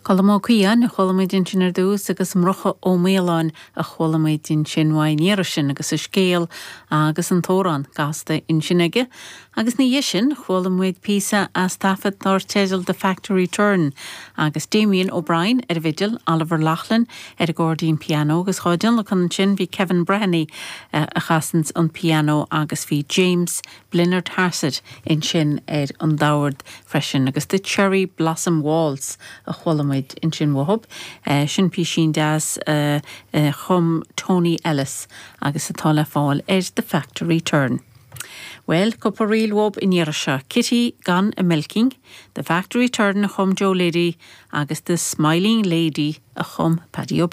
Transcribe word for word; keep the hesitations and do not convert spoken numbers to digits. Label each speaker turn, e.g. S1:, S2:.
S1: Colm Ó Caodháin a chuala muid ansin ar dtús agus Murchadh Ó Maoláin a chuala muid ansin uaidh an iarraidh sin agus a scéal agus an t-amhrán gasta ansin aige. Agus ina dhiaidh sin chuala muid píosa as taifead dar teideal The Factory Turn agus Damien O'Brien ar an bhfidil, Oliver Loughlin ar an gcairdín pianó agus dhá dtionlacan ansin bhí Kevin Breheny uh, a chasanns an pianó agus bhí James Blinnard Harsett ansin ar an dord freisin agus The Cherry Blossom Waltz a chuala muid ansin uathub. Uh, sin písín deas uh, uh, chum Tony Ellis agus atá le fáil ar The Factory Turn. Well, cúpla ríl uaibh an iarraidh seo, Kitty Gone a Milking, The Factory Turn a chum Joe Liddy agus The Smiling Lady a chum Paddy O'Brien.